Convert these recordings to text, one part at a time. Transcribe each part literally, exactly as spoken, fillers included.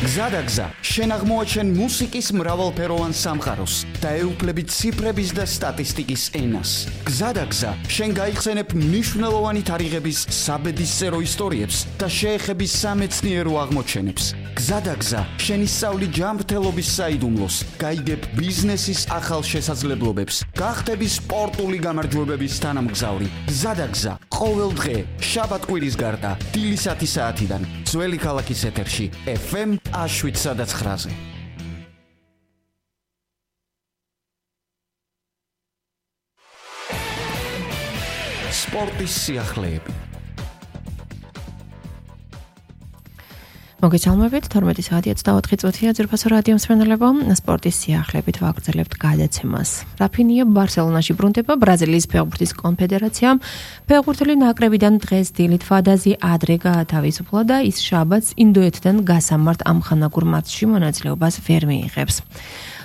გზადაგზა შენ აღმოაჩენ მუსიკის მრავალფეროვან სამყაროს და ეუფლებით ციფრების და სტატისტიკის ენას. გზადაგზა შენ გაიხსენებ მნიშვნელოვანი თარიღების საბედისწერო ისტორიებს და შეეხები სამეცნიერო აღმოჩენებს. გზადაგზა შენ ისწავლი ჯანმრთელობის საიდუმლოს, გაიგებ ბიზნესის ახალ შესაძლებლობებს, გახდები სპორტული გამარჯვებების თანამგზავრი. გზადაგზა ყოველ დღე შაბათ-კვირის გარდა დილის ათი საათიდან ძველი ქალაქის ეთერში ეფ ემ შვიდ ცხრაზე. სპორტის სიახლეები. მოგესალმებით, თორმეტი საათი ოცდაოთხი წუთია ძირფასო რადიო მსმენელებო, სპორტის სიახლეებით ვაგრძელებთ გადაცემას. რაფინია ბარსელონაში ბრუნდება ბრაზილიის ფეხბურთის კონფედერაციამ. ფეხბურთელი ნაკრებიდან დღეს დილით ვადაზი ადრე გაათავისუფლა და ის შაბათს ინდოეთთან გასამართ ამხანაგურ მატჩში მონაწილეობას ვერ მიიღებს.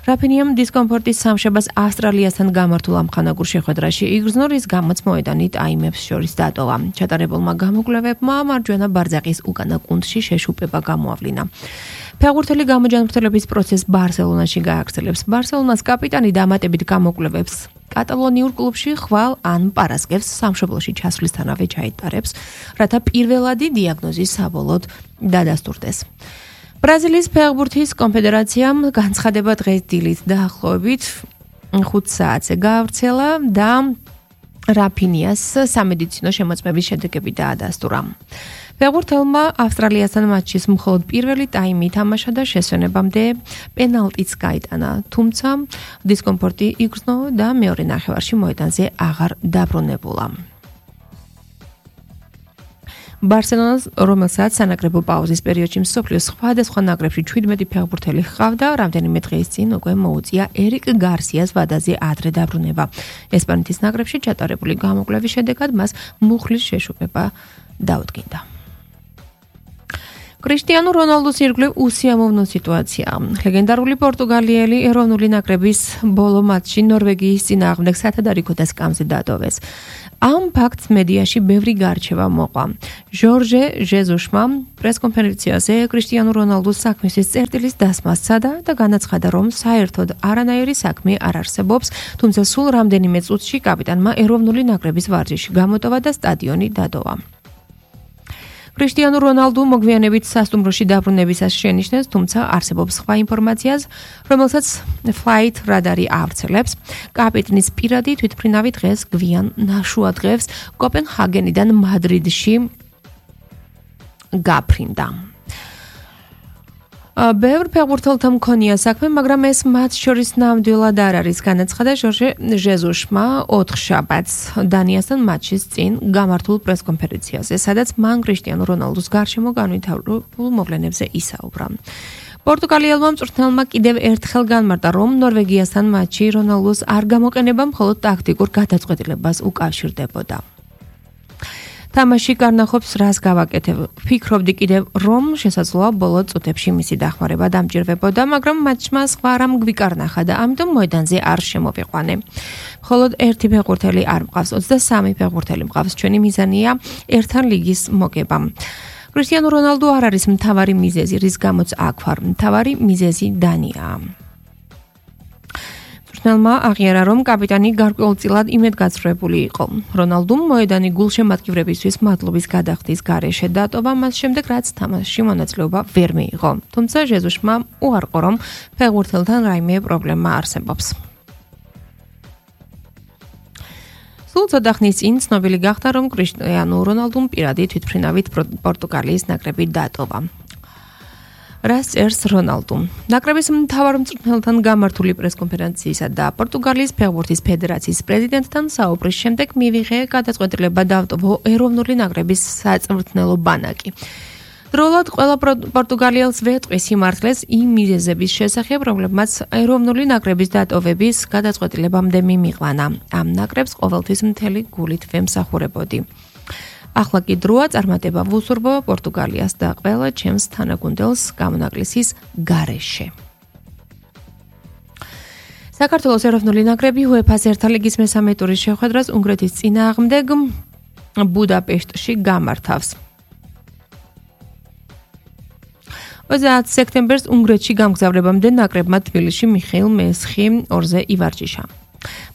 რაფინიამ დისკომფორტის სამშაბათს ავსტრალიასთან გამართულ ამხანაგურ შეხვედრაში იგრძნო, რის გამოც მოედანი ტაიმებს შორის დატოვა. ჩატარებულმა გამოკვლევებმა მარჯვენა ბარძაყის უკანა კუნთში შეშუპება გამოავლინა. ფეხბურთელი გამოჯანმრთელების პროცესს ბარსელონაში გააგრძელებს. ბარსელონას კაპიტანი დამატებით გამოკვლევებს კატალონიურ კლუბში ხვალ ან პარასკევს სამშობლოში ჩასვლისთანავე ჩაიტარებს, რათა პირველადი დიაგნოზი საბოლოოდ დადასტურდეს. ბრაზილიის ფეხბურთის კონფედერაციამ განცხადება დღეს დილით დაახლოებით ხუთ საათზე გაავრცელა და რაფინიას სამედიცინო შემოწმების შედეგები დაადასტურა. ფეხბურთელმა ავსტრალიასთან მატჩის მხოლოდ პირველი ტაიმი ითამაშა და შესვენებამდე პენალტიც გაიტანა, თუმცა დისკომფორტი იგრძნო და მეორე ნახევარში მოედანზე აღარ დაბრუნებულა. ბარსელონას, რომელსაც სანაკრებო პაუზის პერიოდში მსოფლიოს სხვადასხვა ნაკრებში ჩვიდმეტი ფეხბურთელი ჰყავდა, რამდენიმე დღის წინ უკვე მოუწია ერიკ გარსიას ვადაზე ადრე დაბრუნება. ესპანეთის ნაკრებში ჩატარებული გამოკვლევის შედეგად მას მუხლის შეშუპება დაუდგინდა. კრისტიანო რონალდუს ირგვლივ უსიამოვნო სიტუაციაა. ლეგენდარული პორტუგალიელი ეროვნული ნაკრების ბოლო მატჩში ნორვეგიის წინააღმდეგ სათადარიქო სკამზე დატოვეს. ამ ფაქტს მედიაში ბევრი გარჩევა მოყვა. ჟორჟე ჟეზუსმა პრესკონფერენციაზე კრისტიანო რონალდუს საქმის წერტილის დასმა სცადა და განაცხადა, რომ საერთოდ არანაირი საქმე არ არსებობს, თუმცა სულ რამდენიმე წუთში კაპიტანმა ეროვნული ნაკრების ვარჯიში გამოტოვა და სტადიონი დატოვა. კრისტიანო რონალდუ მოგვიანებით სასტუმროში დაბრუნებისას შენიშნეს, თუმცა არსებობს სხვა ინფორმაციას, რომელსაც Flight Radar-ი ავრცელებს. კაპიტნის პირადი თვითმფრინავი დღეს გვიან ნაშუადღევს კოპენჰაგენიდან მადრიდში გაფრინდა. ბევრ ფეხბურთელთა მქონია საქმე, მაგრამ ეს მათ შორის ნამდვილად არ არის, განაცხადა ჟორჟე ჟეზუსმა ოთხ შაბათს დანიასთან მატჩის წინ გამართულ პრესკონფერენციაზე, სადაც მან კრისტიანო რონალდუს გარშემო განვითარებულ მოვლენებზე ისაუბრა. პორტუგალიელმა მწვრთნელმა კიდევ ერთხელ განმარტა, რომ ნორვეგიასთან მატჩი რონალდუს არ გამოყენება მხოლოდ ტაქტიკურ გადაწყვეტილებას უკავშირდებოდა. თამაში კარნახობს რას გავაკეთებ. ფიქრობდი კიდევ, რომ შესაძლოა ბოლო წუთებში მისი დახმარება დამჭირვებოდა, მაგრამ მატჩმა სხვა რამ გვიკარნახა და ამიტომ მოედანზე არ შემოვიყვანე. მხოლოდ ერთი ფეხბურთელი არ მყავს, ოცდასამი ფეხბურთელი მყავს. ჩვენი მიზანია ერთან ლიგის მოგება. კრისტიანო რონალდუ არ არის მთავარი მიზეზი, რის გამოც აქ ვარ. მთავარი მიზეზი დანიაა. მწვრთნელმა აღიარა, რომ კაპიტანი გარკვეულწილად იმედგაცრუებული იყო. რონალდუმ მოედანი გულშემატკივრებისთვის მადლობის გადახდის გარეშე დატოვა, მას შემდეგ რაც თამაშში მონაწილეობა ვერ მიიღო. თუმცა ჟეზუსმა უარყო, რომ ფეხბურთელთან რაიმე პრობლემა არსებობს. სულ ცოტა ხნის წინ ცნობილი გახდა, რომ კრისტიანო რონალდუმ პირადი თვითმფრინავით პორტუგალიის ნაკრები დატოვა. რას წერს რონალდუ? ნაკრების მთავარ მწვრთნელთან გამართული პრესკონფერენციისა და პორტუგალიის ფეხბურთის ფედერაციის პრეზიდენტთან საუბრის შემდეგ მივიღე გადაწყვეტილება დავტოვო ეროვნული ნაკრების საწვრთნელო ბანაკი. დროულად ყველა პორტუგალიელს ვეტყვის სიმართლეს იმ მიზეზების შესახებ, რომლებმაც ეროვნული ნაკრების დატოვების გადაწყვეტილებამდე მიმიყვანა. ამ ნაკრებს ყოველთვის მთელი გულით ვემსახურებოდი. ახლა კი დროა წარმატება ვუსურვო პორტუგალიას და ყველა ჩემს თანაგუნდელს გამონაკლისის გარეშე. საქართველოს ეროვნული ნაკრები უეფა-ს ერთა ლიგის მესამე ტურის შეხვედრას უნგრეთის წინააღმდეგ ბუდაპეშტში გამართავს. ოცდაათ სექტემბერს უნგრეთში გამგზავრებამდე ნაკრებმა თბილისში მიხეილ მესხი ორზე ივარჯიშა.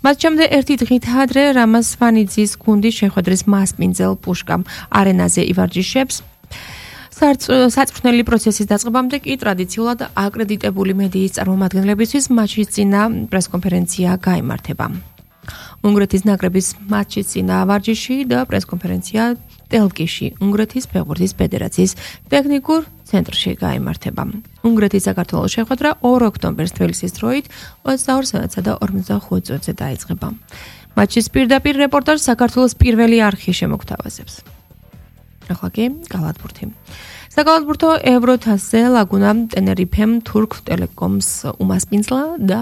მატჩამდე ერთი დღით ადრე რამაზ სვანიძის გუნდი შეხვედრის მასპინძელ პუშკა არენაზე ივარჯიშებს. საწვრთნელი პროცესის დაწყებამდე კი ტრადიციულად აკრედიტებული მედიის წარმომადგენლებისთვის მატჩის წინა პრესკონფერენცია გაიმართება. უნგრეთის ნაკრების მატჩის წინა ვარჯიში და პრესკონფერენცია ტელკიში, უნგრეთის ფეხბურთის ფედერაციის ტექნიკურ ცენტრში გაიმართება. უნგრეთის საქართველოს შეხვედრა ორ ოქტომბერს თბილისის დროით ოცდაორ საათსა და ორმოცდახუთ წუთზე დაიწყება. მატჩის პირდაპირ რეპორტაჟს საქართველოს პირველი არხი შემოგთავაზებს. ახლა კი კალათბურთი. საკალათბურთო ევროთასზე ლაგუნა ტენერიფემ თურქ ტელეკომს უმასპინძლა და